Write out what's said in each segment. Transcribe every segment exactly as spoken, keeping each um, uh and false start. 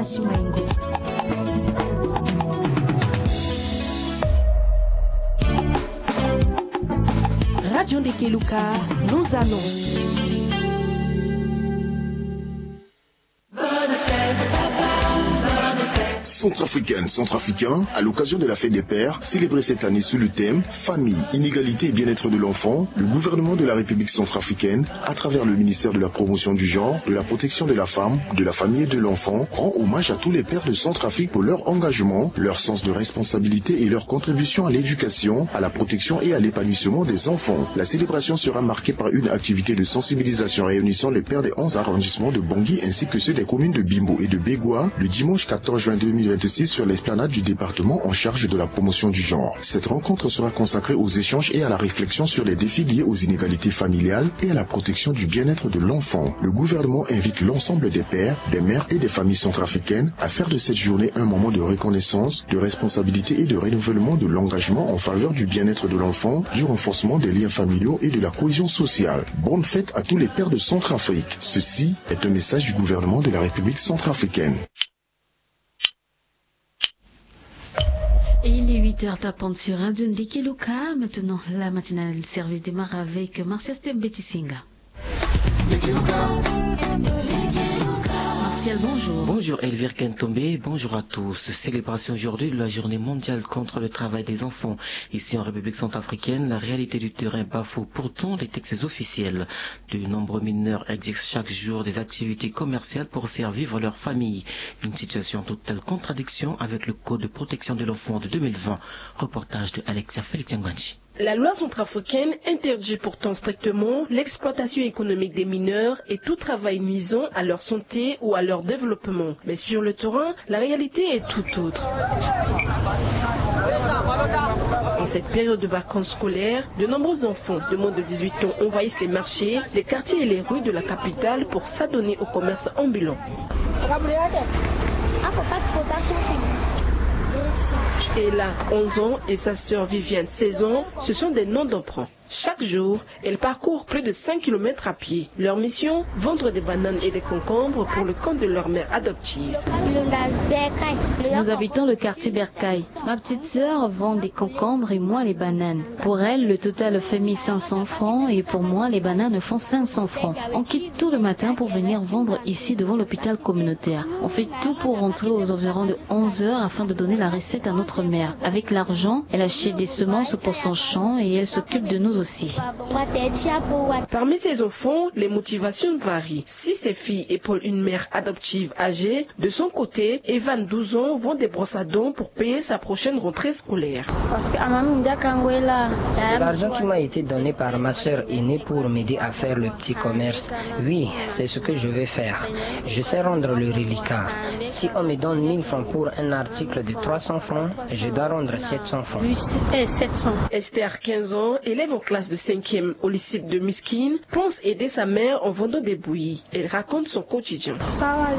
Radio Ndekeluka, nos annonces. Centrafricaine, Centrafricain, à l'occasion de la fête des pères, célébrée cette année sous le thème Famille, inégalité et bien-être de l'enfant, le gouvernement de la République centrafricaine, à travers le ministère de la Promotion du genre, de la Protection de la femme, de la famille et de l'enfant, rend hommage à tous les pères de Centrafrique pour leur engagement, leur sens de responsabilité et leur contribution à l'éducation, à la protection et à l'épanouissement des enfants. La célébration sera marquée par une activité de sensibilisation réunissant les pères des onze arrondissements de Bangui ainsi que ceux des communes de Bimbo et de Begoua le dimanche quatorze juin deux mille vingt-six sur l'esplanade du département en charge de la promotion du genre. Cette rencontre sera consacrée aux échanges et à la réflexion sur les défis liés aux inégalités familiales et à la protection du bien-être de l'enfant. Le gouvernement invite l'ensemble des pères, des mères et des familles centrafricaines à faire de cette journée un moment de reconnaissance, de responsabilité et de renouvellement de l'engagement en faveur du bien-être de l'enfant, du renforcement des liens familiaux et de la cohésion sociale. Bonne fête à tous les pères de Centrafrique. Ceci est un message du gouvernement de la République centrafricaine. Et il est huit heures tapant sur Radio Ndekeluka. Maintenant, la matinale service démarre avec Martial Stem Betisinga. Martial, bonjour. Bonjour Elvire Kentombe, bonjour à tous. Célébration aujourd'hui de la journée mondiale contre le travail des enfants. Ici en République centrafricaine, la réalité du terrain bafoue pourtant les textes officiels. De nombreux mineurs exercent chaque jour des activités commerciales pour faire vivre leur famille. Une situation en totale contradiction avec le Code de protection de l'enfant de deux mille vingt. Reportage de Alexia Félix Ngbandi. La loi centrafricaine interdit pourtant strictement l'exploitation économique des mineurs et tout travail nuisant à leur santé ou à leur développement. Mais sur le terrain, la réalité est tout autre. En cette période de vacances scolaires, de nombreux enfants de moins de dix-huit ans envahissent les marchés, les quartiers et les rues de la capitale pour s'adonner au commerce ambulant. Et là, onze ans et sa sœur Viviane, seize ans, ce sont des noms d'emprunt. Chaque jour, elles parcourent plus de cinq kilomètres à pied. Leur mission, vendre des bananes et des concombres pour le compte de leur mère adoptive. Nous habitons le quartier Bercail. Ma petite sœur vend des concombres et moi les bananes. Pour elle, le total fait mille cinq cents francs et pour moi, les bananes font cinq cents francs. On quitte tout le matin pour venir vendre ici devant l'hôpital communautaire. On fait tout pour rentrer aux environs de onze heures afin de donner la recette à notre mère. Avec l'argent, elle achète des semences pour son champ et elle s'occupe de nous aussi. Parmi ces enfants, les motivations varient. Si ces filles épaulent une mère adoptive âgée, de son côté, Evan, douze ans, vend des brosses à dents pour payer sa prochaine rentrée scolaire. C'est de l'argent qui m'a été donné par ma sœur aînée pour m'aider à faire le petit commerce. Oui, c'est ce que je vais faire. Je sais rendre le reliquat. Si on me donne mille francs pour un article de trois cents francs, je dois rendre sept cents francs. Esther, quinze ans, élève en classe de cinquième au lycée de Miskine, pense aider sa mère en vendant des bouillies. Elle raconte son quotidien. Sawale,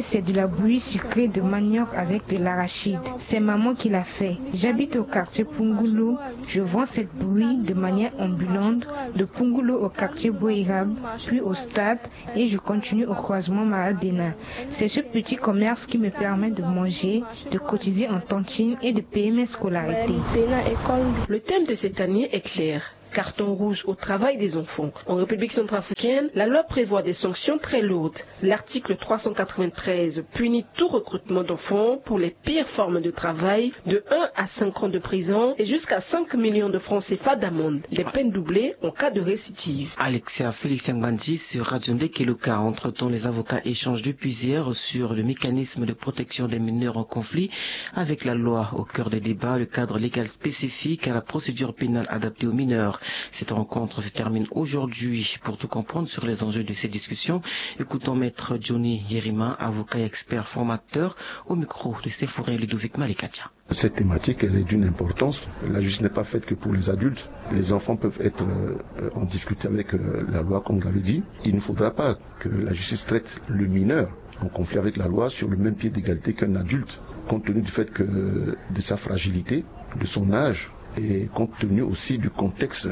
c'est de la bouillie sucrée de manioc avec de l'arachide. C'est maman qui l'a fait. J'habite au quartier Pungulu. Je vends cette bouillie de manière ambulante, de Pungulu au quartier Boirab, puis au stade, et je continue au croisement Maradena. C'est ce petit commerce qui me permet de manger, de cotiser en tantine et de payer mes scolarités. Le thème de cette année est clair. Carton rouge au travail des enfants. En République centrafricaine, la loi prévoit des sanctions très lourdes. L'article trois cent quatre-vingt-treize punit tout recrutement d'enfants pour les pires formes de travail, de un à cinq ans de prison et jusqu'à cinq millions de francs C F A d'amende. Les peines doublées en cas de récidive. Alexia Félix Ngbandi sur Radio Ndekeluka. Entre-temps, les avocats échangent depuis hier sur le mécanisme de protection des mineurs en conflit avec la loi. Au cœur des débats, le cadre légal spécifique à la procédure pénale adaptée aux mineurs. Cette rencontre se termine aujourd'hui. Pour tout comprendre sur les enjeux de ces discussions, écoutons Maître Johnny Yerima, avocat et expert formateur, au micro de Séphorien Ludovic Malekatia. Cette thématique, elle est d'une importance. La justice n'est pas faite que pour les adultes. Les enfants peuvent être, euh, en difficulté avec, euh, la loi, comme vous l'avez dit. Il ne faudra pas que la justice traite le mineur en conflit avec la loi sur le même pied d'égalité qu'un adulte, compte tenu du fait que, de sa fragilité, de son âge, et compte tenu aussi du contexte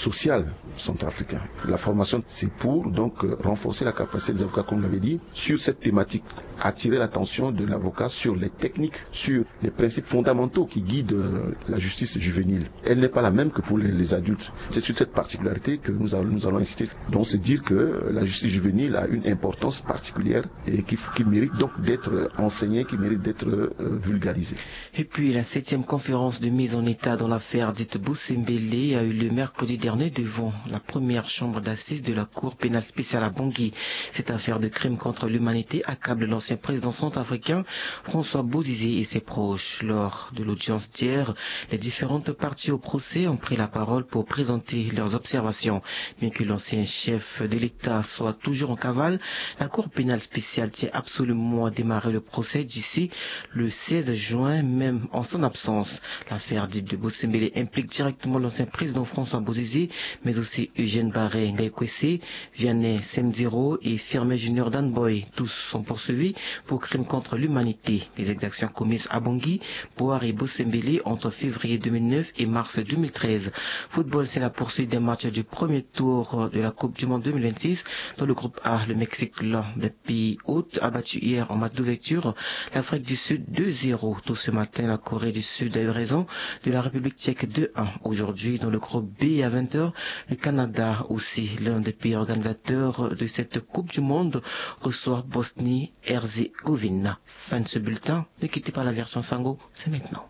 Social centrafricain. La formation, c'est pour donc euh, renforcer la capacité des avocats, comme vous l'avez dit, sur cette thématique, attirer l'attention de l'avocat sur les techniques, sur les principes fondamentaux qui guident euh, la justice juvénile. Elle n'est pas la même que pour les, les adultes. C'est sur cette particularité que nous allons, nous allons insister. Donc, c'est dire que la justice juvénile a une importance particulière et qui, qui mérite donc d'être enseignée, qui mérite d'être euh, vulgarisée. Et puis, la septième conférence de mise en état dans l'affaire dite Bosembele a eu lieu mercredi dernier devant la première chambre d'assises de la Cour pénale spéciale à Bangui. Cette affaire de crime contre l'humanité accable l'ancien président centrafricain François Bozizé et ses proches. Lors de l'audience d'hier, les différentes parties au procès ont pris la parole pour présenter leurs observations. Bien que l'ancien chef de l'État soit toujours en cavale, la Cour pénale spéciale tient absolument à démarrer le procès d'ici le seize juin, même en son absence. L'affaire dite de Bosembele implique directement l'ancien président François Bozizé, mais aussi Eugène Barré Ngaïkwessé, Vianney Semzero et Firmin Junior Danboy. Tous sont poursuivis pour crimes contre l'humanité. Les exactions commises à Bangui, Boar et Bosembele entre février deux mille neuf et mars deux mille treize. Football, c'est la poursuite des matchs du premier tour de la Coupe du Monde deux mille vingt-six. Dans le groupe A, le Mexique, l'un des pays hôtes, a battu hier en match d'ouverture l'Afrique du Sud deux zéro. Tôt ce matin, la Corée du Sud a eu raison de la République tchèque deux un. Aujourd'hui, dans le groupe B à vingt heures, le Canada, aussi l'un des pays organisateurs de cette Coupe du Monde, reçoit Bosnie-Herzégovine. Fin de ce bulletin. Ne quittez pas la version Sango, c'est maintenant.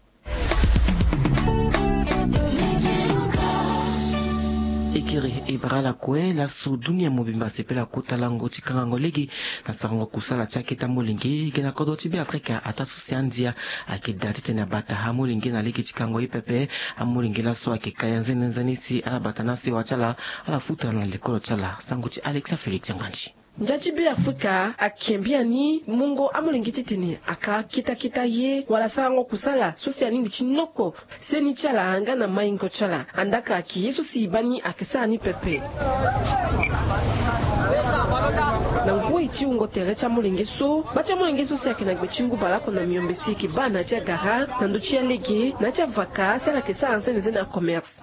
Ekiri e bara lakue laso dunia mobimba asepela kota lango ti kangango lege na sarango kusala ti akete amolenge ge na kodro ti Beafrika. Ataa so si andia ayeke daa titene abata amolenge na lege ti kango ye pepe. Amolenge laso ayeke ka ya nzene nzene si ala bata na sewa ti ala, ala futa na lekolo ti ala. Sango ti Alexa Félix Ngbandi. Ndia ti Beafrika ayeke biani mungo amolenge titene aka kitakita ye wala sarango kusala so si alingbi ti noko seni ti ala nga na maingo ti ala. Andaka ayeke ye so si e baa ni ayeke sara ni pepe. Na ngoi ti wungo tere ti amolenge so, baa ti amolenge so si ayeke na gbe ti ngu baleoko na miombe si e yeke baa na ya ti agara na ndö ti alege na ya ti avaka si ala yeke sara nzene nzene acommerce.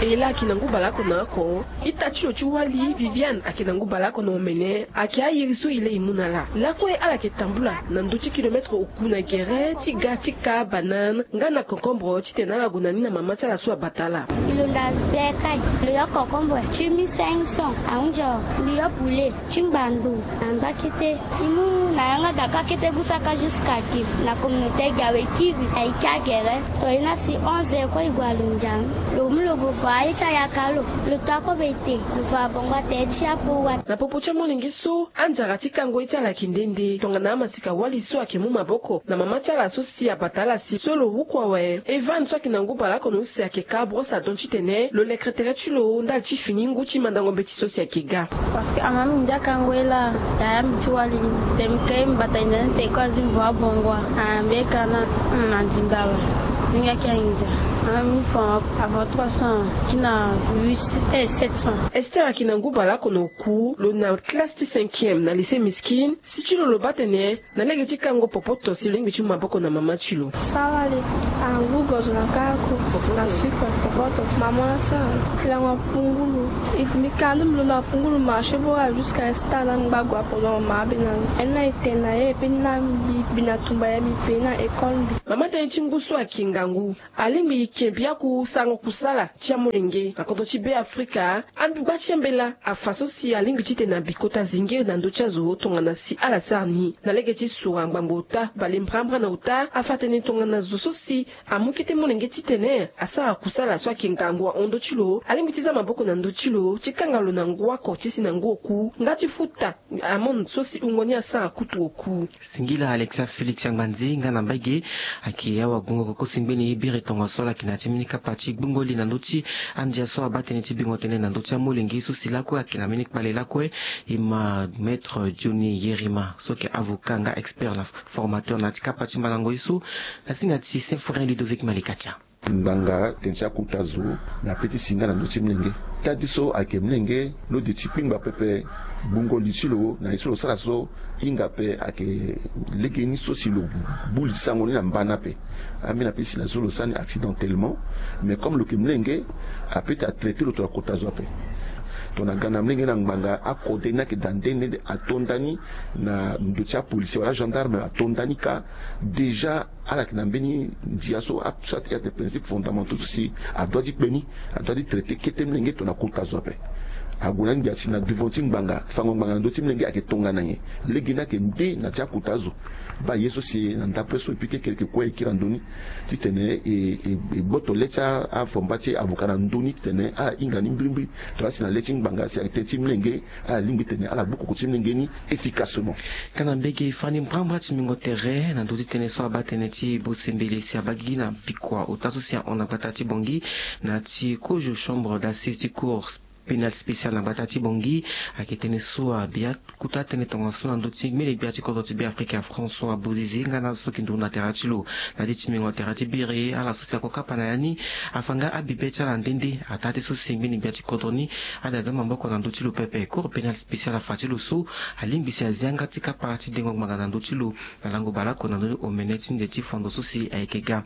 E laa ayeke na ngu baleoko na oko. Ita ti lo ti wali Viviane ayeke na ngu baleoko na omene. Ayeke airi so e lei e mu na ala. Lakue ala yeke tambula na ndö ti kilometre oku na gere ti ga ti ka banane nga na concombre titene ala gue na ni na mama ti ala so abata ala. E lo nda be kai lo yo concombre ti mille cinq cents, ahunzi lo yo poulet ti ngbando na ngba kete. E mu na yanga da ka kete gusaka jusqu'à que na communauté gi awe kiri na e ki agere. To e na si onze heures kue e gue alo nzang. Lo mu lo gue fa aye ti ayaka lo. Lo to ako be te lo fa abongo atere ti apo wani. Na popo ti amolenge so anzara ti kango ye ti ala ayeke nde nde tongana amasika wali so ayeke mu maboko na mama ti ala so si abata ala si so lo huku awe. Evan so ayeke na ngu baleoko na use ayeke ka brosse à dents titene lo lekere tere ti lo ndali ti fini ngu ti mandango mbeti so si ayeke ga. Parce que ama mbi ndia kango ye laa. Yaya mbi ti wali mbi te mbi kiri mbi bata inda ni te ko azi mbi vo abongo wa. Ambe ka na na ndimba awe. Mingi ayeke ahinza. Ama mbi fo avant trois cents ti na huit cents, eh, sept cents. Esther ayeke na ngu baleoko na oku lo na classe ti cinquième na lycée Miskine. Si ti lo lo baa tene na lege ti kango popoto si lo lingbi ti mu maboko na mama ti lo. Sara le angu gozo na kaka ko na sucre popoto mama na sara. Lango apungulu. Mbi ka ndo mbi londo apungulu marché bora jusqu'à instant na ngba gue apo na mama abe na lo. Aye ni na ete na ye pe ni na mbi mbi na tumba ya mbi pe na école mbi. Mama tënë ti ngu so ayeke ngangu alingbi e ke biaku sarango kusala ti amolenge na kodro ti Beafrika. Ambi gba ti ambela afa so si alingbi titene abi kota zingiri na ndö ti azo tongana si ala sara ni na lege ti sura ngbangbo ota bale mbrambra na ota afa tënë tongana zo so si amu kete molenge titene asara kusala so ayeke ngangu ahon ndö ti lo alingbi ti za maboko na ndö ti lo ti kanga lo na ngu oko ti si na ngu oku nga ti futa amende so si wungo ni asara kutu oku. Singila Alexa Félix Angbanzi nga na mbage. Ayeke awagbongo kokosi ngbeni ye biri tongaso ala yeke na ya ti mbeni kapa ti gbungo li na ndö ti andia so abaa tënë ti bingo tënë na ndö ti amolenge so si lakue ayeke na mbeni kpale lakue. E ma maître Johnny Yerima so yeke avocat nga expert na formateur na ya ti kapa ti mbalango ye so. Na singa ti Symphorien Ludovic Malikatia. Ngbanga tene ti akota zo na pe ti si nga na ndö ti mlenge. Tadi so ayeke mlenge lo de ti kpingba pepe. Gbungo li ti lo na ye so lo sara so hinga pe ayeke legeni so si lo gbu li sango ni na mbana ape. Ambeni ape si na so lo sara ni accidentellement. Mais comme lo yeke mlenge, ape ti atraite lo tongana kota zo ape. Tongana ga na mlenge na ngbanga akode ni ayeke daa nde nde ato nda ni na ndo ti apolisier wala agendarme ato nda ni ka. Déjà ala yeke na mbeni ndia so aso ayeke na principe fondamentaux so si adua ti kpe ni. Adua ti traite kete mlenge tongana kota zo ape. Ague na ni gbia si na devant ti ngbanga fango ngbanga na ndö ti mlenge ayeke tongana nyen. Legeni ayeke nde na ti akota zo. Baa ye so si na ndapre so epui kekereke kue e kiri na ndö ni titene e gboto le ti avomba ti avocat na ndö ni titene ala hinga ni mbirimbiri. Tongana si na le ti ngbanga si ayeke tënë ti mlenge ala lingbi tene ala gbu koko ti mlenge ni efficacement. Nga na mbege fani mbrambra ti mingo tere na ndö ti tënë so abaa tënë ti bosembele si abaa gigi na bikua ota so si ahon na gbata ti bongi na ti kozo chambre d'assise ti cour pénal spécial na gbata ti bongi. Ayeke tënë so abia kota tënë tongaso na ndö ti mbeni gbia ti kodro ti beafrika françois bozeze nga na so yeke nduru na tere ti lo. Na ti ti mingo tere ti biri ala so si ako kapa na ya ni afa nga abibe ti ala nde nde ataa ti so si mbeni gbia ti kodro ni ala za maboko na ndö ti lo pepe cour pénal spécial afa ti lo so alingbi si azia nga ti kapa ti dengo ngbanga na ndö ti lo. Na lango baleoko na ndö ni omene ti nze ti fondo so si ayeke ga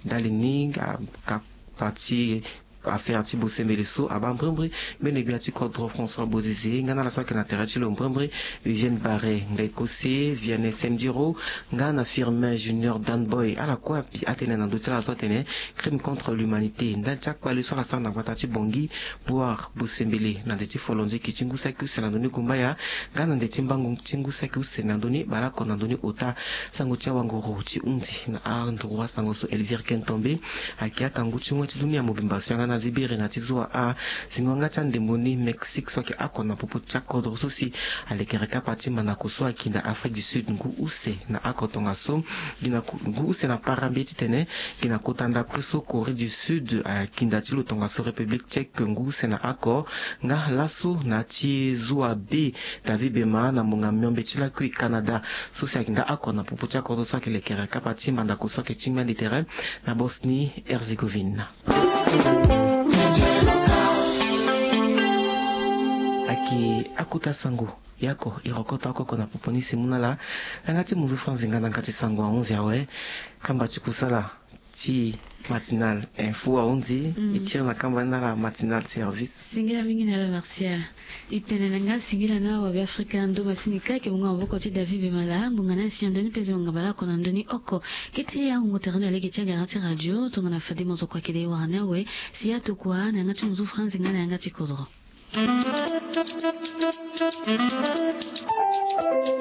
ndali ni akapa ti affaire ti bosembele so abaa mbrimbri mbeni gbia ti kodro françois bozeze nga na ala so ayeke na tere ti lo mbrimbri eugène barre ngai kose viane sendiro nga na firmin junior danboy ala kue api atene na ndö ti ala so atene crime contre l'humanité ndali ti akpale so ala sara na gbata ti bongi boire bosembele na nze ti folonzeki ti ngu saki use na ndö ni gumbaya nga na nze ti mbangu ti ngu saki use na ndö ni baleoko na ndö ni ota. Sango ti awanguru ti hunzi na androit sango so elvire kentombe ayeke akangu ti ngoi ti dunia mobimba so yanga na zibiri na ti zo wa a zingo yanga ti andembo ni mexique so ayeke oko na popo ti akodro so si alekere kapa ti mandako so ayeke na afrique du sud ngu use na oko tongaso gi na ngu use na parambe titene gi na kota ndapre so corée du sud akinda ti lo tongaso république tchèque ngu use na oko. Nga laso na ti zo wa be david bema na monga miombe ti lakui canada so si ayeke nga oko na popo ti akodro so ayeke lekere kapa ti mandako so ayeke ti ngbeni tere na bosnie herzegovine. Ayeke akota sango yako e rokota oko oko na popo ni si mu na ala na yanga ti muzu franzi nga na yanga ti sango ahunzi awe. Kamba ti kusala ti matinal info ahunzi e tiri na kamba ni na ala matinal service. Singila mingi na ala martial. E tene na nga singila na awabe afrika ndo masini kake mungo na maboko ti david bemala ngbonga na asi na ndoni mpenzi mangabala oko na ndoni oko. Kete ya ngongo tere na lege ti agara ti radio tongana fade mozoko akede wara ni awe. Si ya tokua na yanga ti muzu franzi nga na yanga ti kodro.